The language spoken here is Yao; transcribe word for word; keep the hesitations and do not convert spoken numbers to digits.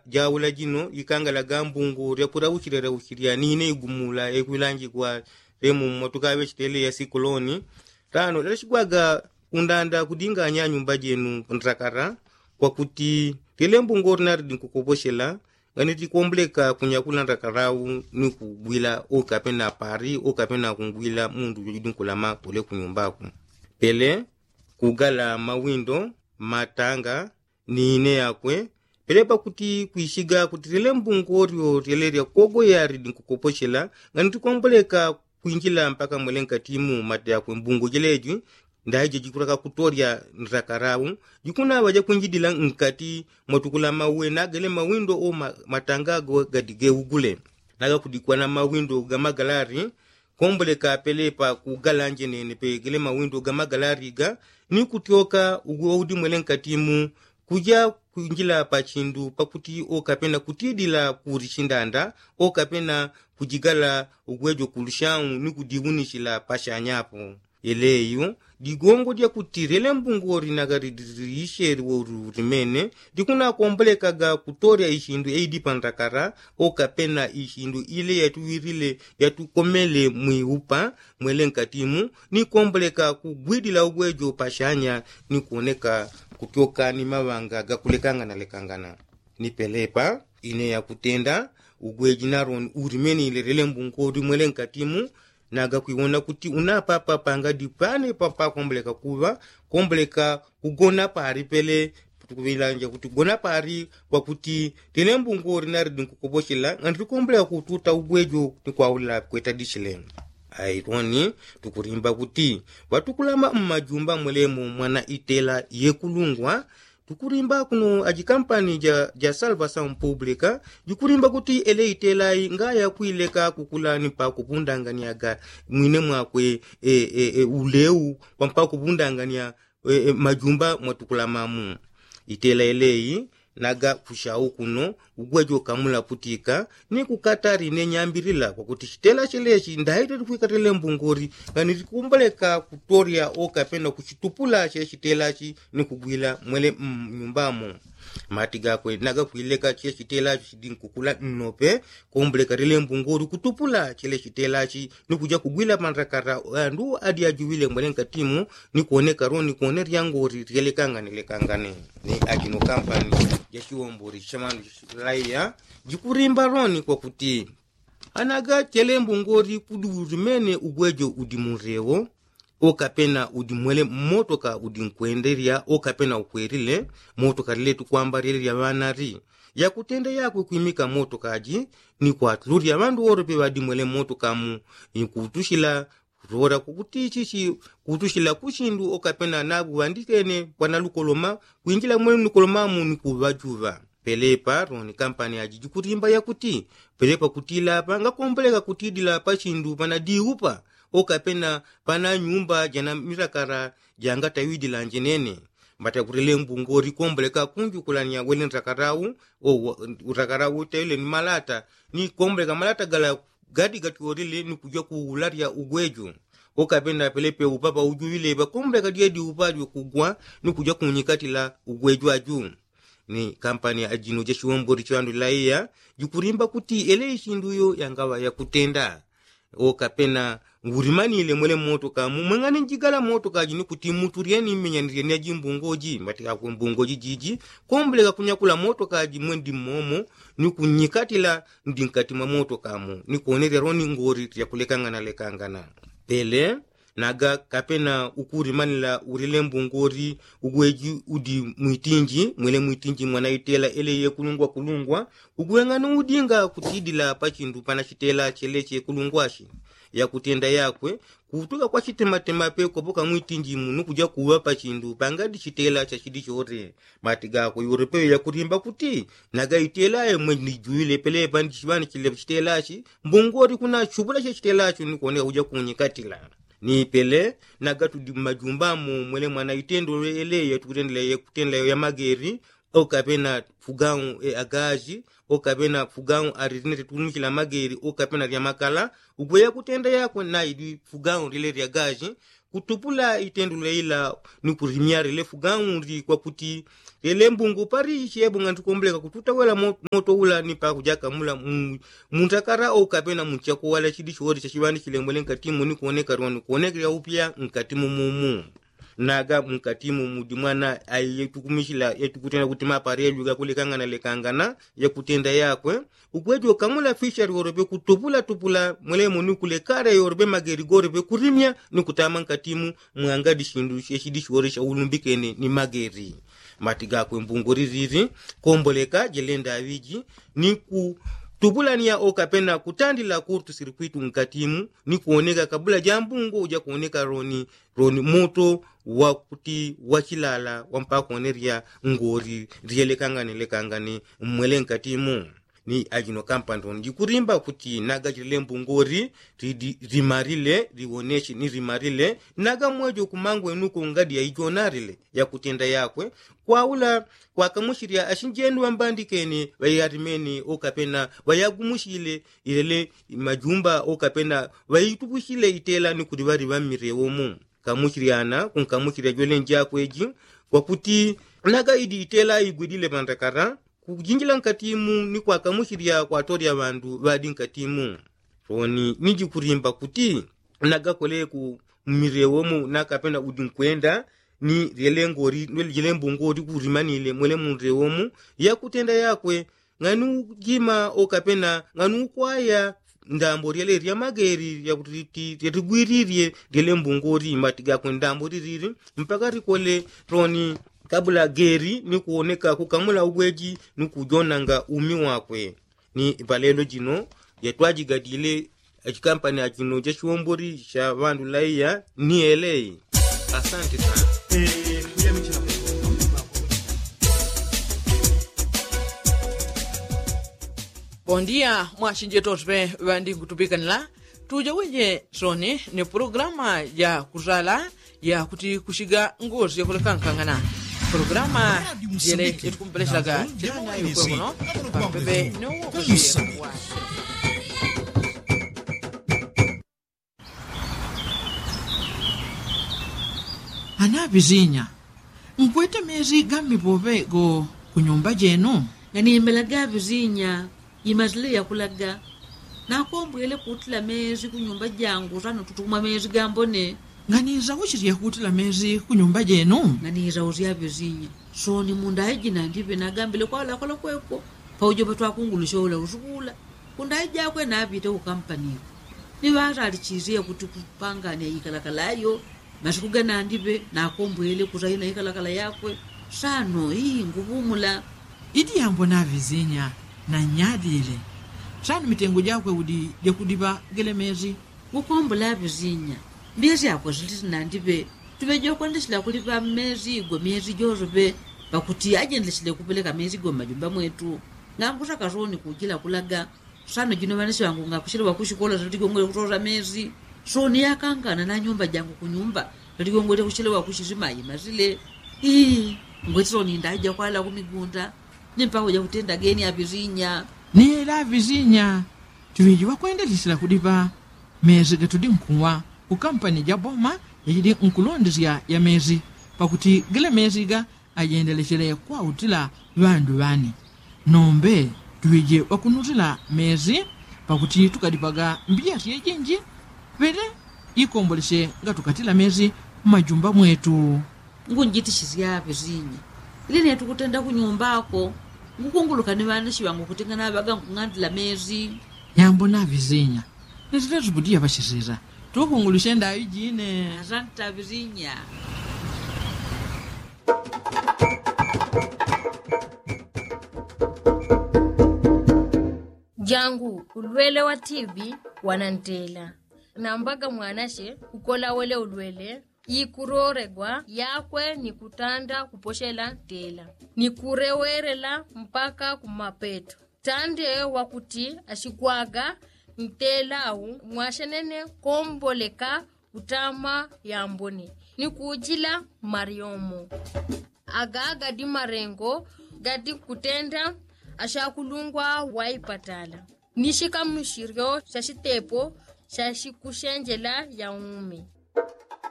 jaula jino ikangala ga mbungo lyakulauchilelauchilya nine igumula yaikwilanjikwa lemu mmotuka aŵechitele ya sikuloni. Tano lyasigwaga kundanda kudinganya nyumba jenu ndakala kwakuti lile mbungo linali dinkukoposhela ngani tikwomboleka kunyakula ndakalau ni kugwila okapena pali okapena kungwila mundu jojidinkulama kule kunyumbaku. Pele kugala mawindo matanga ni ine yakwe. Pele pakuti kwisiga kuti lile mbungo lyo lyele lya kogo yali dinkukoposhela ngani tikwomboleka kwinjila mpaka mwele nkatimu mate yakwe mbungo jeleji ndaije jikulaka kutolya ndakalau jikunaŵa jakwinjilila nkati mwatukula mawe nagele mawindo o matanga ago gadigeugule. Nagakudikwa na mawindo gamagalari komboleka pele pakugalanje nene pegele mawindo gamagalari ga ni kutyoka ugu waudi mwele nkatimu kuja kwinjila pachindu pakuti okapena kutidila kuli chindanda okapena kujigala ugwejo kulushawu ni kudiwunishila pashanyapo. Eleyo digongo dyakuti lele mbungoli nagalidililishe liwolulimene dikunakombolekaga kutolya ishindu eidi pandakala okapena ishindu ile yatuwilile yatukomele mwiupa mwele nkatimu ni komboleka kugwilila ugwejo pashanya ni kuoneka kutyoka ni maŵanga gakulekanganalekangana. Ni pelepa ine yakutenda ugweji naroni ulimenile lele mbungoli mwele nkatimu nagakwiwona kuti unapapa pangadi pane papakomboleka kuŵa komboleka kugona pali pele. Tukuŵilanja kuti gona pali kwakuti lele mbungoli nali dinkukoposhela ngani tikomboleka kututa ugwejo ni kwaulila kweta disile. Aitoni tukulimba kuti ŵatukulama mmajumba mwelemo mwana itela yekulungwa tukulimba kuno ajikampani ja salvasaun publika jikulimba kuti ele itela i ngaya kwileka kukula ni mpaka kupundangania ga mwine mwakwe uleu kwa mpaka kupundangania majumba mwatukulamamu. Itela eleyi naga kushau kuno ugwejo kamula putika ni kukatari ne nyambilila kwakuti chitela chelechi ndaitoti kwikatele mbungoli ngani tikumboleka kutolya okapena kuchitupula chechitelachi ni kugwila mwele mnyumbamo. Mati gakwe naga kwileka chechitelachi chidinkukula nnope komboleka lile mbungoli kutupula chele chitelachi ni kuja kugwila mandakala andu adi ajuwile mwele nkatimu ni kuoneka loni kuone lyangoli lyelekangane lekangane. Ni achino kampani jachiwomboli chamanu laiya jikulimba loni kwakuti anaga chele mbungoli kudi ulimene ugwejo udi mulewo okapena udi mwele mmotoka udi nkwendelya okapena ukwelile motoka lile tukwamba lyele lya ŵanali yakutenda yakwe kwimika motokaji ni kwatululya ŵandu wolope ŵadi mwele motokamu ni kutushila kulola kukuti chichi kutushila kuchindu okapena nabu ŵandikene kwanalukoloma kwinjila mwele nukolomamu ni kuŵajuŵa. Pelepa loni kampani aji jikulimba yakuti pelepa kutila apa ngakomboleka kutidila pachindu panadiupa okapena pana nyumba jana milakala jangatawidilanje nene. Mbata kuti lile mbungoli komboleka kunjukulanya wele ntakarau utakarau tele ni malata ni komboleka malata gala gadi gatwolile ni kuja kuulalya ugwejo okapena pelepe upapa ujuwile pakomboleka dyedi upajo kugwa ni kuja kunyikatila ugwejo aju. Ni kampani ajino jachiwomboli chiŵandu laiya jikulimba kuti ele ishindu iyo yangaŵa yakutenda okapena ngulimanile mwele motokamu mweng'ane njigala motokaji ni kuti mutulyeni mmenyanilye ni ajimbungoji mbati akwe mbungoji jiji komboleka kunyakula motokaji mwendi mmomo ni kunyikatila ndi nkati mwa motokamu ni kuonelya loni ngoli lyakulekangana lekangana. Pele naga kapena ukulimanila ulile mbungoli ugweji udi mwitinji mwele mwitinji mwana itela ele yekulungwa kulungwa ugweng'ano udinga kutidila pachindu pana chitela chele chekulungwashi yakutenda yakwe kutuka kwa chitematema pe kopoka mwitinji mu ni kuja kuŵa pachindu pangadi chitela chachidi chote. Mati gakwe yule pe yakulimba kuti naga itela emwe nijuwile pelepa ndi chiŵani chile chitelachi mbungoli kunachupula chechitelacho ni kuoneka kuja kunyikatila. Ni pele nagatudi mmajumba mu mwele mwana itendolo eleyo tukutendela yekutendela yo ya mageri okapena fugau e agaji okapena fugau alilinete tukunuchila mageri okapena lya makala ugweya kutenda yakwe naidi fugau lile lya gaji kutupula itendule ila ni kurimya lele fugaundri kwa kuti lele mbungu pari ichebo ngandikomboleka kututawela moto ula ni pakujakamula muntakara okapena munchako wala chidi chori chachivani chilembwele nkatimu ni kuoneka rwani kuoneka lya upya nkatimu mumu. Naga mkatimu mudi mwana ayetukumichila yetukutenda kuti mapari yejuga kulekangana lekangana yakutenda yakwe. Ukwejo kamula ficha lyorope kutupula tupula mwelemo ni kulekara yorope mageri gorope kurimya ni kutama nkatimu mwanga dishindu sheshidi shore shaulumbikene ni mageri. Mati gakwe mbunguri riri komboleka jelenda awiji ni kutupulania okapena kutandila kurtu sirikwitu nkatimu ni kuoneka kabula jambungu uja kuoneka roni roni moto wakuti wachilala wampakonerya ngori ryelekangane lekangane mmwele nkatimu. Ni ajino kampani roni jikurimba kuti naga jilele mbungori ridi rimarile riwoneshi ni rimarile naga mwejo kumangwenuko ngadi yaijonarile yakutenda yakwe. Kwaula kwakamushirya ashinjeni wambandikeni wayarimeni okapena wayagumushile ilele majumba okapena waitukushile itela ni kuli wali wamire womu. Kamuchilyana kunkamuchilya jwele njakweji kwakuti naga idi itela igwidile mandakara kujinjila nkatimu ni kwakamuchilya kwatolya wandu wadi nkatimu. Soni nijikulimba kuti naga kweleku mmire womu nakapena udi nkwenda ni lyelembungori kulimanile mwele mundre womu yakutenda yakwe. Ng'ani ujima okapena ng'ani ukwaya ndambo lyele lyamageri lyakuti lyatigwirirye lyele mbungori mati gakwe ndambo lilili mpaka likole loni kabula geri ni kuoneka kukamula ugweji ni kujonanga umi wakwe. Ni palelo jino yatwajigadile achikampani achino chachiwomboli cha ŵandu laiya ni elei. Asante sana. Bondia mwashinje toswe ŵandi nkutupikanila tuja wenye soni ni programa ja kuzala ya kuti kushiga ngozi yakulekankangana programa jele yatikumpeleshaga chilana yukwekono pampepe ni uwongozi. Anaŵizinya nkwete mezi ga mmipope go kunyumba jenu? Nganimelaga ŵizinya imazile yakulaga nakombwele kutila mezi kunyumba jangu sano tutukumwa mezi gambone. Nganiza uchilya kutila mezi kunyumba jenu? Nganiza uzya ŵizinya soni mundaiji nandiŵe nagambile kwalakola kweko paujo patwakungulusha ula usukula kundaiji akwe naŵite kukampaniko. Ni ŵasalichisye kuti kupanganya ikalakala yo masiku ganandiŵe nakombwele kusaina ikalakala yakwe. Sano ii ngupumula. Idi yambona ŵizinya nanyadile sano mitengo jakwe udi jakudiŵa gele mezi. Ngukombola ŵizinya mbyezi akwe siliti nandiŵe tuŵe jokwendeshela kuliŵa mmezi igwe myezi joloŵe pakuti ajendeshele kupeleka mezi igwe mmajumba mwetu. Ngangusa kasoni kujila kulaga sano jino ŵanesi ŵangu ngakushile wakushikola saligongwele kutosa mezi. Soni yakangana na nyumba jangu kunyumba saligongwele kushile wakushisimayi masile. Ii ngweti soni ndaija kwala kumigunda ni mpaho jakutenda geni aŵizinya. Ni ela aŵizinya tuŵiji ŵakwendelesela kudiŵa mezi gatudi nkuwa ku kampani ja boma yajidi nkulondesya ya mezi pakuti gila mezi ga ajendelechele kwautila ŵandu ŵani. Nombe tuŵije ŵakunutila mezi pakuti tukadipaga mbiya syejinji ŵele ikomboleche ngatukatila mezi mmajumba mwetu. Ngunjitishisya ŵizinya ili netukutenda kunyumbako ngukunguluka ni ŵaneshi ŵangu kuti nganaŵaga nkung'andila mezi. Yambona ŵizinya nitile tupudiya ŵachisisa tukunguluche ndaŵi jine. Asanta ŵizinya. Jangu ulwele wa tivi wanantela nambaga mwanache kukola wele ulwele ikuroregwa yakwe ni kutanda kuposhela ntela ni kurewerela mpaka kumapeto. Tande wakuti ashikwaga ntela au mwashenene komboleka kutama yambone ni kujila mariomo. Aga gadi marengo gadi kutenda ashakulungwa wa ipatala ni shikamushiryo sha shitepo sha shikushenjela ya umi.